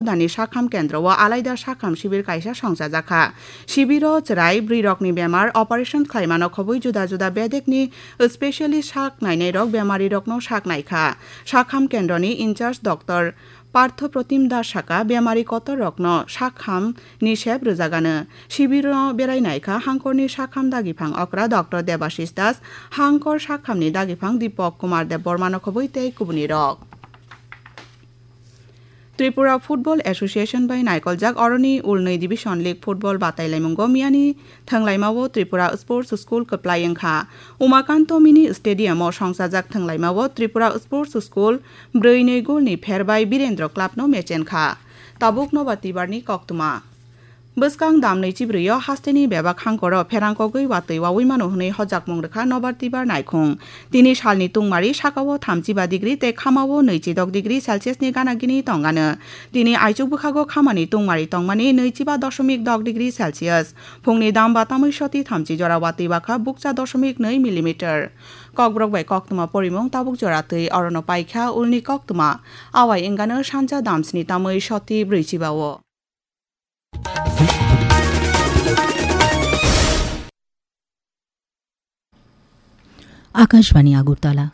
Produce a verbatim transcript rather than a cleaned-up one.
Dani sakham kendro o alaida sakham sibir kaisa songchajak kha. Sibiro chwrai bwrwi rokni bemar operation khlaimano khobwi juda juda bedekni specialist sak nainai rok bemari rokno sak nai kha. Sakham kendroni in charge Doctor Partho Protim Das saka bemari kotor rokno sakham ni sep rwjagano. Sibiro berai nai kha hangkorni sakham dagiphang okra Doctor Debashis Das, hangkor sakhamni dagiphang Dipok Kumar Debbarmano khobwi tei kubuni rok. Tripura Football Association bai naikoljak oroni ulnwi Division League Football batailaimungo miyani thwnglaimao Tripura Sports School kwplai wngkha. Umakanto Mini Stadium o songchajak thwnglaimao Tripura Sports School brwi nwi golni pher bai Birendra Club no mechen kha. Tabuk nobar tibarni koktwma. Bwskang dam nwichi brwi o hasteni bebak hangkoro pherang kogwi watwi wawi mano hwnwi hojakmung rwkha nobar tibar naikhung. Tini salni tungmari sakao thamchiba degree tei khamao nwichidok degree Celsius ni gana gini tongano. Tini aichuk bwkhago khamani tungmari tongmani nwichiba doshomik dok degree Celsius. Phungni dam ba tamwi soti thamchi jora watwi bakha bukcha doshomik nwi millimeter. Kokborok bai koktwma porimung tabuk jora twi orono paikha ulni koktwma. Awai wngano sanja damsni tamwi soti brwichiba o. Akashbani Agartala,